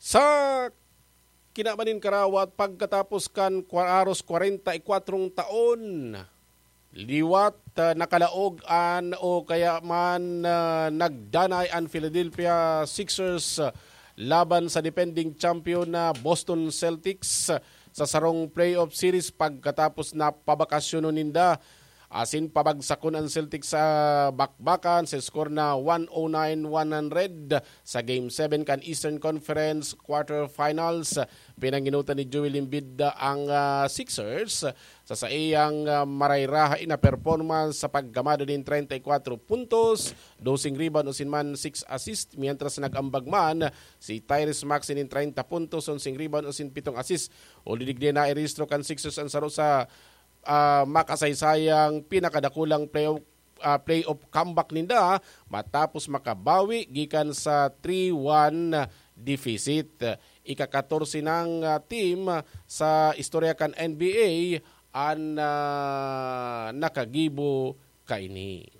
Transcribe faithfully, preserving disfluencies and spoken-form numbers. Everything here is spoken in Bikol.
Sa kinaban nin karawat, pagkatapos kan kwa-, haros kwarenta y kwatro taon, liwat, ah, nakalaog an o kaya man, ah, nagdanay an Philadelphia Sixers, ah, laban sa defending champion na Boston Celtics, ah, sa sarong playoff series pagkatapos na pabakasyonon ninda asin pabagsakon an Celtics sa bakbakan sa score na one oh nine one hundred sa Game seven kan Eastern Conference Quarterfinals. Pinanginutan ni Joel Embiid ang, ah, Sixers sa saiyang, ah, marayrahay na performance sa paggamada nin treinta y cuatro puntos, doseng rebound asin man six assist, mientras nag-ambag man si Tyrese Maxey nin treinta puntos, onseng rebound asin pitong assist. O digdi na irehistro kan Sixers an saro sa, ah, makasaysayang pinakadakulang playoff, ah, playoff comeback ninda matapos makabawi gikan sa three one deficit. Ika-katorse nang, ah, team sa istorya kan N B A an, ah, nakagibo kaini.